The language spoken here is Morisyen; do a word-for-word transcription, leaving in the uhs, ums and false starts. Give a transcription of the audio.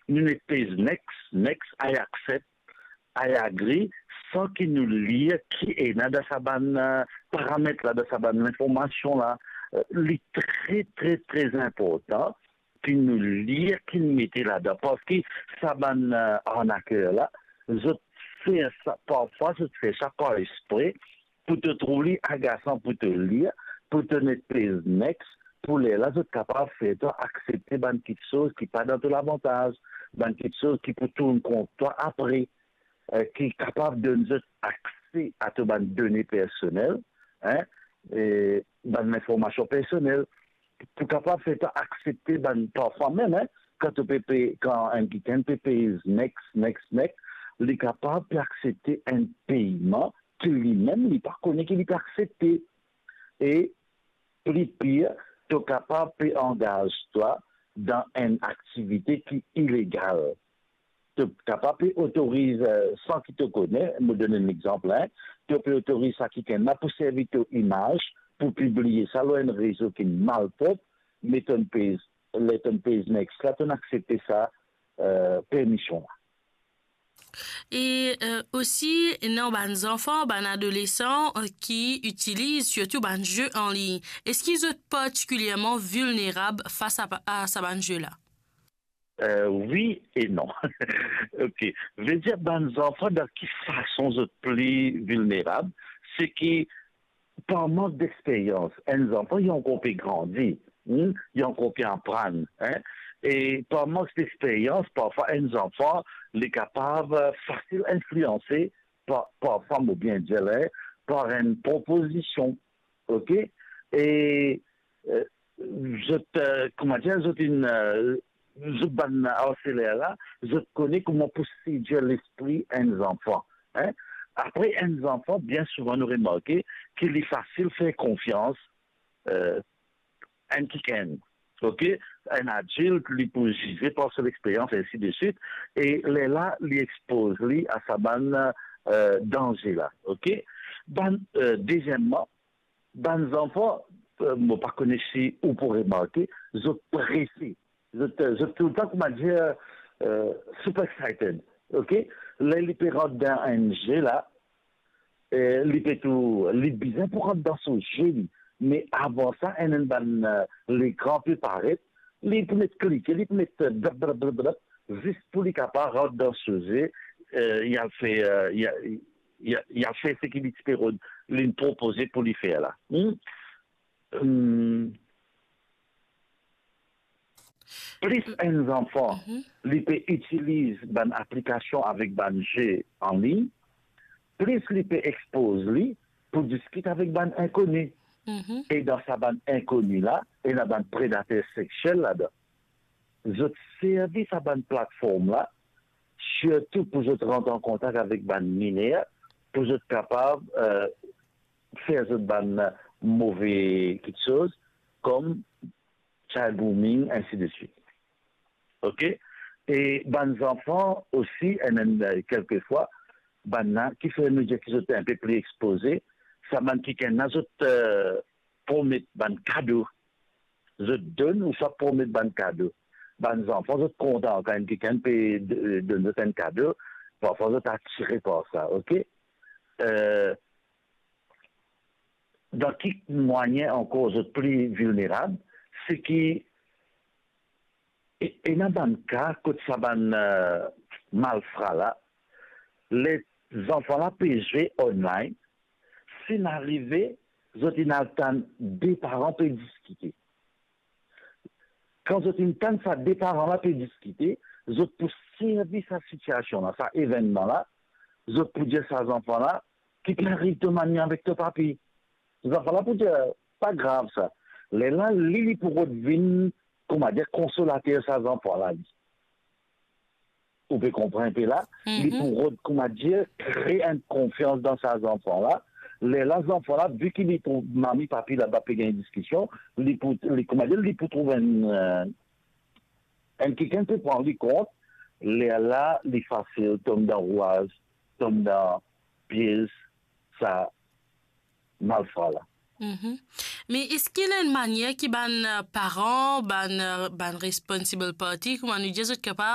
nou met pez next, next, I accept, I agree, san ki nou lir ki ena dan sa bann, eh, paramet la, dan sa bann linformasion la. Eh, li tre, tre, tre inportan ki nou lir ki nou mete ladan, parski sa bann, eh, arnaker la, zot fer sa, parfwa zot fer sa par espre, pou to trouv li agasan pou to lir, pou to met pez next, pou lerla zot kapav fer twa aksepte bann kiksoz ki pa dan to lavantaz, bann kiksoz ki pou tourn kont twa apre, eh, ki kapav donn zot akse a to bann done personel, hein, e bann linformasion personel, pou kapav fer twa aksepte bann, parfwa mem, hein, kan to pe pey, kan enn kikenn pe pey next, next, next, li kapav pe aksepte enn peyman ki limem li pa kone ki li pe aksepte. E pli pir, to kapav pe angaz twa dan enn aktivite ki ilegal. To kapav pe otoriz, eh, san ki to kone, mo donn enn lexanp, hein, to pe otoriz sa kikenn la pou servi to imaz, pou pibliye sa lor enn rezo ki malprop, me tonn pez, ler tonn pez next la, tonn aksepte sa, eh, permision la. E, eh, osi, ena bann zanfan, bann adolesan, eh, ki itiliz sirtou bann ze anlign. Eski zot partikilierman vilnerab fas a, a sa bann ze la? Eh, wi e non. Ok. Vedir bann zanfan, dan ki fason zot pli vilnerab? Se ki par mank dexperyans, enn zanfan li ankor pe grandi, hmm, li ankor pe aprann, hein. E par mank dexperyans, parfwa enn zanfan, li kapav, eh, fasil inflianse par, par fam oubien dieler, par enn propozision, ok? E, eh, zot, eh, kouma dir, zot inn, eh, zot bann arseler la, zot kone kouma pou sedir lespri enn zanfan, hein? Apre, enn zanfan, bien souvan nou remarke ki li fasil fer konfians, eh, enn kikenn, ok? Enn adilt, li pou zize par so lexperyans, ensi de swit, e lerla, li expoz li a sa bann, eh, danze la, ok? Bann, eh, dezieman, bann zanfan, eh, mo pa kone si ou pou remarke, zot prese. Zot, eh, zot toultan, kouma dir, eh, super excited, ok? Ler li pe rant dan enn ze la, eh, li pe tou, li bizin pou rant dan so ze li. Me avan sa, enn, enn bann, eh, lekran pe paret, li pou met klike, li pou met, eh, blap, blap, blap, blap, zis pou li kapav rant dan so ze, eh, li al fer, eh, li al, li al, li al fer seki li ti pe rod, linn propoze pou li fer la. Hmm? Hmm. Plis enn zanfan, mhm, li pe itiliz bann aplikasion avek bann ze anlign, plis li pe expoz li pou diskit avek bann inkoni. Mhm. E dan sa bann inkoni la, ena bann predater sexiel ladan. Zot servi sa bann platform la, sirtou pou zot rant an kontak avek bann miner, pou zot kapav, eh, fer zot bann move kiksoz, kom child grooming, ensi de swit. Ok? E bann zanfan osi, enn, enn, eh, kelkefwa, bann la ki fer nou dir ki zot inpe pli expoze, sa bann kikenn la zot, eh, promet bann kado. Zot donn ouswa promet bann kado. Bann zanfan, zot kontan kan enn kikenn pe d-, donn zot enn kado, parfwa zot atire par sa, ok? Eh, dan ki mwayin ankor zot pli vilnerab? Se ki e-, ena bann ka kot sa bann, eh, malfra la, ler zanfan la pe zwe online, si inn arive, zot inn al tann de paran pe diskite. Kan zot inn tann sa de paran la pe diskite, zot pou servi sa sitiasion la, sa evennman la, zot pou dir sa zanfan la, ki pe ariv to mami avek to papi. Zanfan la pou dir, pa grav sa. Lerla, li, li pou rod vinn, kouma dir, konsolater sa zanfan la, li. Ou pe konpran inpe la? Li, mhm, pou rod, kouma dir, kre enn konfians dan sa zanfan la. Lerla, zanfan la, vi ki li trouv mami, papi laba pe gagn diskision, li pou, li, kouma dir, li pou trouv enn, eh, enn kikenn pou pran li kont, lerla, li fasil tom dan rouaz, tom dan piez sa malfra la. Mhm. Me eski ena enn manier ki bann, eh, paran, bann, eh, bann responsible party, kouma nou dir, zot kapav